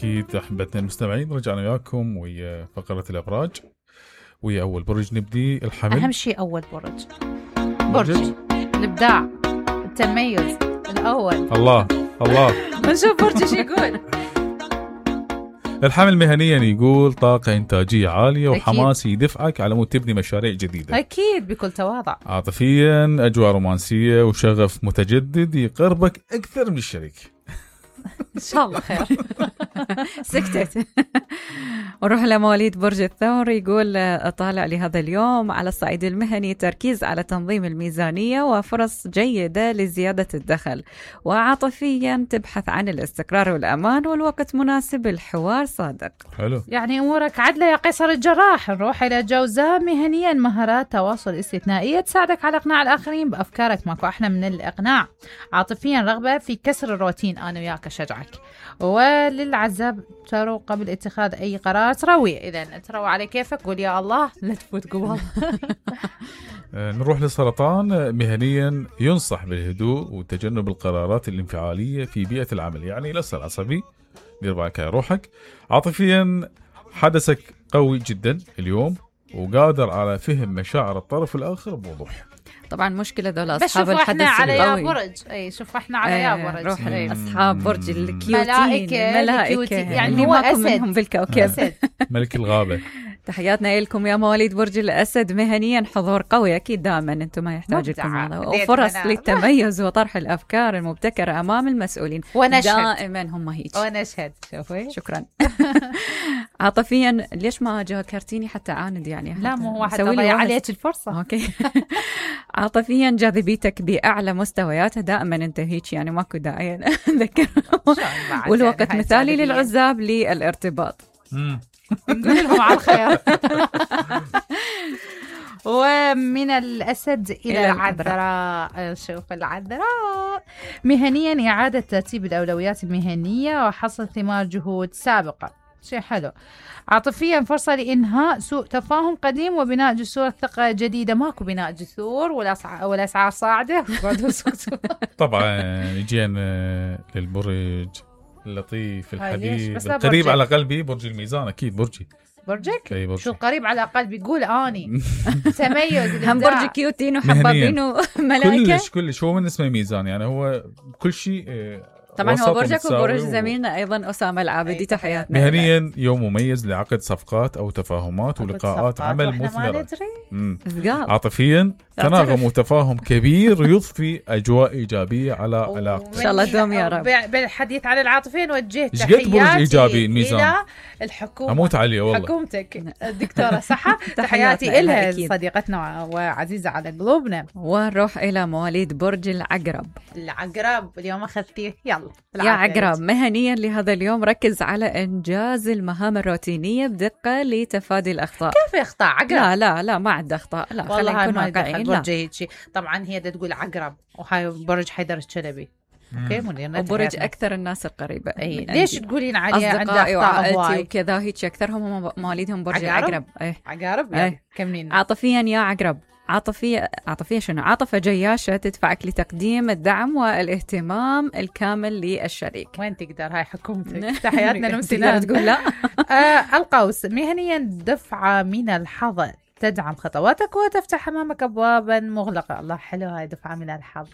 أكيد أحبتنا المستمعين، رجعنا وياكم ويا فقرة الأبراج. ويا أول برج نبدي الحمل. أهم شيء أول برج الإبداع، التميز الأول. الله نشوف برج شو يقول. الحمل مهنيا يقول طاقة إنتاجية عالية وحماس يدفعك على مود تبني مشاريع جديدة. أكيد بكل تواضع. عاطفيا أجواء رومانسية وشغف متجدد يقربك أكثر من الشريك. إن شاء الله خير. سكتت. ونروح لمواليد برج الثور، يقول أطالع لهذا اليوم على الصعيد المهني تركيز على تنظيم الميزانية وفرص جيدة لزيادة الدخل، وعاطفيا تبحث عن الاستقرار والأمان والوقت مناسب الحوار صادق. حلو، يعني أمورك عدلة يا قيصر الجراح. نروح إلى جوزاء، مهنيا مهارات تواصل استثنائية تساعدك على إقناع الآخرين بأفكارك، ماكو أحلى من الإقناع. عاطفيا رغبة في كسر الروتين، أنا وياك أشجعك. وللعزاب تروا قبل اتخاذ أي قرار تروي، إذا تروي على كيفك، قول يا الله لا تفوت قبل. نروح للسرطان، مهنيا ينصح بالهدوء وتجنب القرارات الانفعالية في بيئة العمل، يعني لا تصير عصبي، دير بالك على روحك. عاطفيا حدثك قوي جدا اليوم وقادر على فهم مشاعر الطرف الآخر بوضوح. طبعا مشكلة ذول أصحاب الحدث القوي. على برج أي شوف إحنا على يا برج. روح أصحاب برج الكيوتين، ملائكة يعني هو أسد منهم بالكوكب. ملك الغابة. تحياتنا لكم يا مواليد برج الأسد، مهنيا حضور قوي أكيد دائما، أنتم ما يحتاج لكم هذا، وفرص للتميز وطرح الأفكار المبتكرة أمام المسؤولين. دائما هم هيك. ونشهد شوفي. شكرا. عاطفيا ليش ما ذكرتيني حتى عاند يعني؟ لا مو واحد ضيع عليك الفرصة. أوكي. عاطفيا جاذبيتك بأعلى مستوياتها، دائما أنت هيك يعني ماكو داعي نذكر. والوقت مثالي للعزاب للارتباط. نقول لهم على الخير. ومن الأسد إلى العذراء، شوف العذراء مهنيا إعادة ترتيب الأولويات المهنية وحصل ثمار جهود سابقة، شيء حلو. عاطفيا فرصة لإنهاء سوء تفاهم قديم وبناء جسور ثقة جديدة، ماكو بناء جسور والأسعار صاعدة. طبعا جينا للبرج اللطيف الحبيب القريب على قلبي، برج الميزان. أكيد برجك شو قريب على قلبي، قول أني تميز. هم برج كيوتين وحبابين وملائكة كلش هو من اسمه ميزان، يعني هو كل شيء. طبعا هو برجك وبرج زميلنا أيضا أسامة العابدي. تحياتنا. مهنيا يوم مميز لعقد صفقات أو تفاهمات ولقاءات عمل مثمرة. عاطفيا تناغم وتفاهم كبير يضفي أجواء إيجابية على علاقة. إن شاء الله دوم يا رب. بالحديث عن العاطفين وجهت تحياتي إلى الحكومة. أموت عليه والله. حكومتك الدكتورة صحة. تحياتي إلها صديقتنا وعزيزة على قلوبنا. ونروح إلى مواليد برج العقرب. اليوم أخذتيه، يلا يا عقرب مهنيا لهذا اليوم ركز على إنجاز المهام الروتينية بدقة لتفادي الأخطاء. كيف يخطأ عقرب؟ لا ما عنده أخطاء. لا والله ما واقعين. طبعا هي تقول عقرب وهاي برج حيدر الشلبي. اوكي وبرج اكثر الناس القريبه. ليش تقولين عليه عنده اخطاء وكذا هيك اكثرهم مواليدهم برج العقرب. عقرب كملين. عاطفيا يا عقرب، عاطفية شنو؟ عاطفة جياشة تدفعك لتقديم الدعم والاهتمام الكامل للشريك. وين تقدر، هاي حكومتك. تحياتنا لمسينا. تقول لا. القوس مهنيا دفعة من الحظ تدعم خطواتك وتفتح أمامك أبوابا مغلقة. الله حلو، هاي دفعة من الحظ،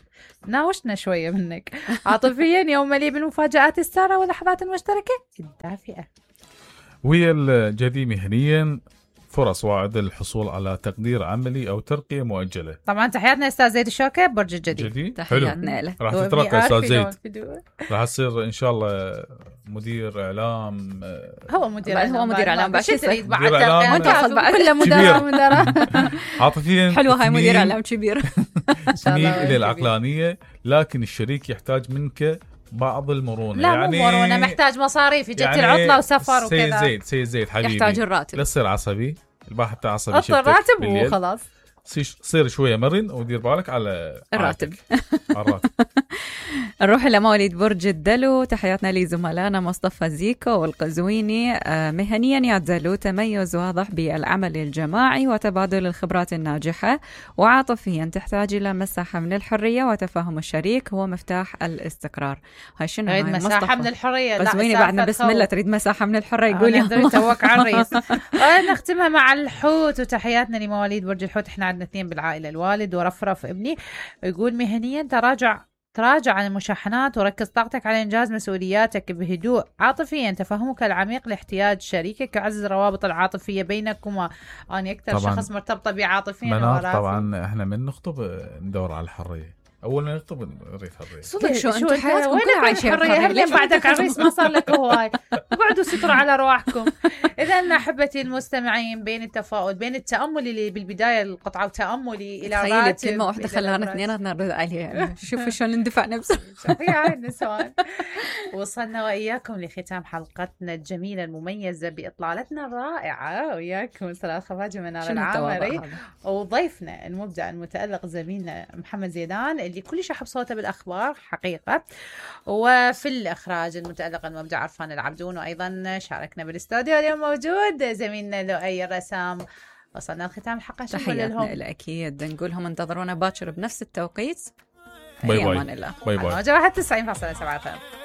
ناوشنا شوية منك. عاطفيا يوم مليء بالمفاجآت السارة واللحظات المشتركة الدافئة. ويا الجدي مهنيا فرص واعدة للحصول على تقدير عملي أو ترقية مؤجلة. طبعا تحياتنا أستاذ زيد الشوكة، برج الجديد. تحياتنا له. راح تترقى أستاذ زيد، راح تصير إن شاء الله مدير إعلام. هو مدير إعلام بعد تريد بعد كله مدراء. عاطفيا حلوة هاي مدير إعلام كبير. تميل إلى العقلانية، لكن الشريك يحتاج منك بعض المرونة. لا يعني مو مرونة، محتاج مصاريف، جت يعني العطلة وسفر وكذا. سيد زيد حبيبي، يحتاج الراتب. لا تصير عصبي، الباحث بتاع عصبي. الراتب وخلاص. صير شويه مرن ودير بالك على الراتب. على الراتب. نروح لمواليد برج الدلو. تحياتنا لزملائنا مصطفى زيكو والقزويني. مهنيا يعزلوا تميز واضح بالعمل الجماعي وتبادل الخبرات الناجحة، وعاطفيا تحتاج إلى مساحة من الحرية وتفاهم الشريك هو مفتاح الاستقرار. هاي شنو تريد مساحة من الحرية؟ قزويني بعدنا بسم الله تريد مساحة من الحرية يقول يا توك على الرئيس. نختمها مع الحوت، وتحياتنا لمواليد برج الحوت. احنا عندنا 2 بالعائلة، الوالد ورفرف ابني. يقول مهنيا تراجع عن المشاحنات وركز طاقتك على إنجاز مسؤولياتك بهدوء. عاطفيا تفهمك العميق لاحتياج شريكك يعزز الروابط العاطفية بينكما. أنا أكثر شخص مرتبطة بعاطفيا منار. طبعا احنا من نخطب ندور على الحرية، أول ما نخطب نريد حرية. صدق شو أنتم حياتكم كلها عايشين حرية؟ هل بعدك عريس ما صار لك هواي؟ اقعدوا ستروا على رواحكم. إذا أحبتي المستمعين، بين التفاؤل بين التأمل اللي بالبداية القطعة وتأملي إلى راتب، كلمة واحدة خلانا اثنيناتنا نرد عليها. شوفوا شلون ندفع نفسنا. يا النسوان. وصلنا وإياكم لختام حلقتنا الجميلة المميزة بإطلالتنا الرائعة وياكم 3 خفاجة منار العامري وضيفنا المبدع المتألق زميلنا محمد زيدان اللي كل شيء صوته بالأخبار حقيقة، وفي الإخراج المتألق المبدع عرفان العبدون، وأيضا شاركنا بالاستوديو اليوم موجود زميلنا لؤي الرسام. وصلنا لختام الحلقة. تحياتنا الأكيد، نقولهم انتظرونا باكر بنفس التوقيت. باي باي. أمان الله. باي باي. موجة 91.7 FM.